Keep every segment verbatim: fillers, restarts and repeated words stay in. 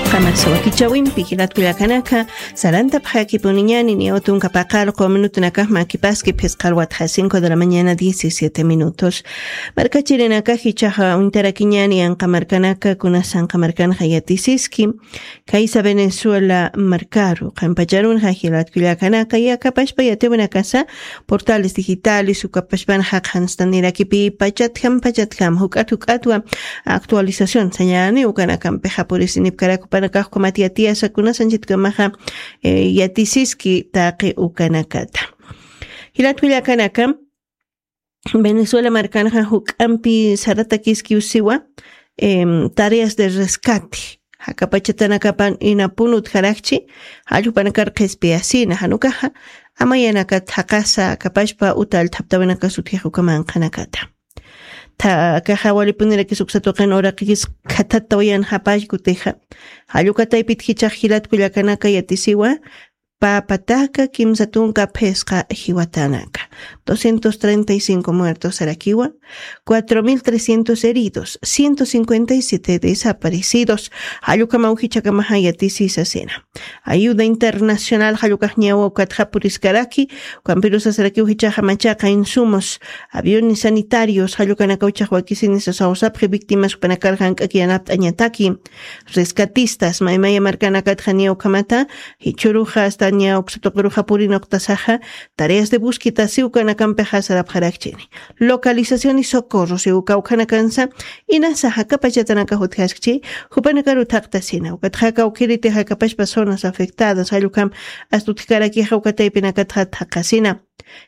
Qamar sawakichawimpi jilat kullakanaka, sarantapxakipuniñani niyaw tunka paqarqu minutunakax makipaski phisqa alwatxa cinco de la mañana diecisiete minutos. Markachirinakax ichaxa uñtarakiñani anqa markanaka, kunas anqa markanxa yatisiski, kaysa Venezuela markaru, qampacharunxa jilat kullakanaka, yakapashpa yatiwanakasa, portales digitales, ukapashpanxa qhanstanirakipi, pachatjam, pachatjam, juk'at, juk'atwa, actualización sañani ukanakampixa purisinipkarak jupanakax kumat yatiyasa kunasanchitkamaxa, eh, yatisiski taqi ukanakata. Jilat kullakanaka, Venezuela markanxa juk'ampi saratakiski usiwa, em, tareas de rescate. Jakapachatanakapan inapun utjarakchi, jallpanakar qhispiyasina, janukaxa, amayanakat jaqasa, kapashpa utal thaptawinakas utjix ukamanqanakata. Tha, kaxa walipunirakis uksa tuqin uraqikis khathattawayan japallkutixa. Jallukataypit jichax jilat kullakanaka yatisiwa, papataka kimsa tunka phisqa jiwatanaka. Doscientos treinta y cinco muertos sarakiwa, cuatro mil trescientos heridos, ciento cincuenta y siete desaparecidos. Jallukamaw jichakamaxa yatisisasina. Ayuda internacional jallukaqñawa ukatxapuriskaraki, ukampirusasarakiw jichaxa machaqa insumos, aviones sanitarios, jallukanakaw chaqwakisini sasawsapxi víctimas jupanakarqan k'akiyanapt'añataki. Rescatistas, maymaya markanakatxa niya ukhamata, jichhuruxa, hasta niya uksa tuqiruxa purina uqtasaxa, tareas de búsqueda siwkanakampixa sarapxarakchini. Localización y socorro siwka ukhanakansa, inasa jakapachatanaka jutjaskchi, jupanakaru thaqtasina, ukatxa kawkhiriti jakapashpa zonas afectadas, jallukam, hasta utjkarakixa ukataypinakatxa thaqasina.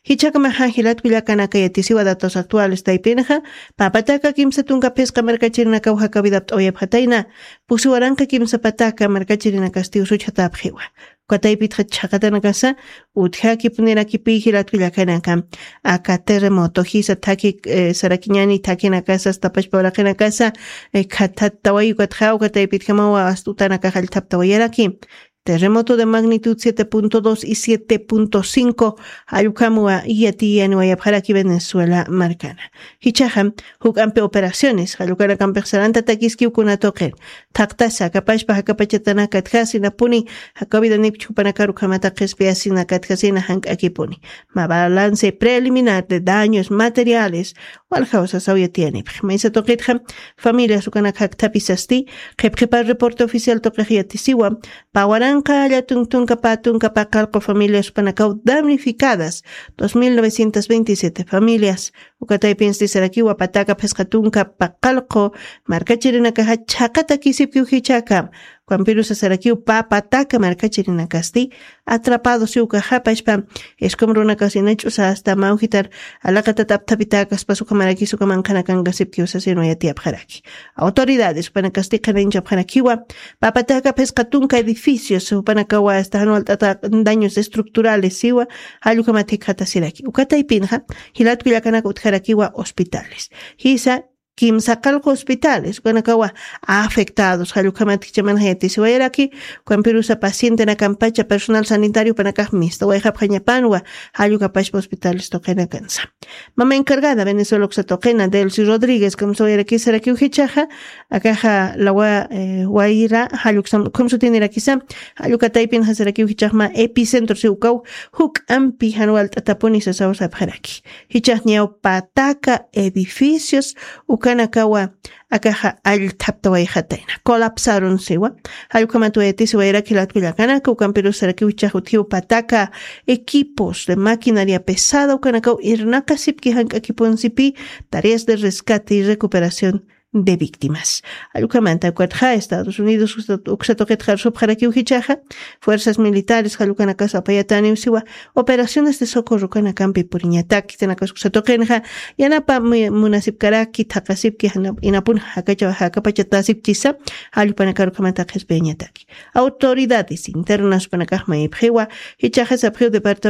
Jichhakamaxa jilat kullakanaka yatisiwa datos actuales taypinxa, papataka kimsa tunka phisqa markachirinakaw jakawidapt'awayapxatayna, pusi waranqa kimsa pataka markachirinakasti usuchhatapxiwa. Ukataypitxa chhaqatanakasa, utjakipunirakipi jilat kullakanaka. Aka terremoto, jisa thaki, eh, sarakiñani thakinakasa, tapashpa uraqinakasa, eh, khathattaway ukatxa, ukataypitjamawa astutanakax allthaptawayaraki. Terremoto de magnitud siete punto dos y siete punto cinco, jallukhamwa yatiyaniwayapxaraki Venezuela markana. Jichhaxa, juk'ampi operaciones, jallukanakampixa sarantatakiskiw kuna tuqin. Thaqtasa, jakapashpa, jakapachatanaka tjasinapuni, jakawidanipch jupanakaru ukhamata qhispiyasina katjasina jank'akipuni. Ma balance preliminar de daños materiales, waljaw sasaw yatiyanipxi. Maysa tuqitxa, familias ukanaka jakthapisasti, qhipqhipar reporte oficial tuqix yatisiwa, pä waranqa llatuntunka pä tunka paqallqu familias jupanakaw damnificadas, dos mil novecientos veintisiete familias, ukataypinsti sarakiwa pataka phisqa tunka paqallqu markachirinakaxa chhaqatakisipkiw jichhakam, ukampirusa sarakiw pä pataka markachirinakasti, atrapado siwka japashpa, escombrunakasina ch'usa hasta mawjitar alaqatat apthapitakas pasukamarakis ukamanqanakanka sipkiw sasinwa yatiyapxaraki. Autoridades, jupanakasti qhanañchapxarakiwa, pä pataka phisqa tunka edificios, jupanakawa hasta jan walt'ata daños estructurales siwa, jallukhamat jikxatasiraki. Ukataypinxa, jilat kullakanaka utjarakiwa hospitales. Jisa, kimsa qallqu hospitales, ukanakawa afectados, jallukhamat jichhamanxa yatisiwayaraki, ukampirusa pacientenakampacha personal sanitario jupanakax mistawayxapxañapanwa, jallukapashpa hospitales tuqinakansa. Mama encargada Venezuela uksa tuqina, Delcy Rodríguez, kamsawayarakiw jichhaxa, akaxa lawa, eh, wayra, jalluksam, kamsutinirakisa, jallukataypinxa sarakiw jichhaxma epicentro siwkaw, juk'ampi jan walt'atapuni sasaw sapxaraki. Jichhax niyaw pataka edificios, ukanakawa, akaxa allthaptawayxatayna. Colapsaron siwa. Jallukhamat wayatisiwayaraki jilat kullakanaka, ukampirus sarakiw jichhax utjiw pataka equipos de maquinaria pesada, ukanakaw irnaqasipki jank'akipunsipi tareas de rescate y recuperación de víctimas. Jallukhamanta ukatxa Estados Unidos uksa, uksa tuqit qarsupxarakiw jichhaxa, fuerzas militares jallukanakas apayataniw siwa, operaciones de socorro ukanakampi puriñataki, tanakas uksa tuqinxa, yanapa mu-, munasipkaraki, thaqasipki, jana-, inapun jakacha-, jakapachatasipkisa, jallpanakar ukhamanta qhispiyañataki. Autoridades internas jupanakax mayipxiwa, jichhaxa sapxiw departamento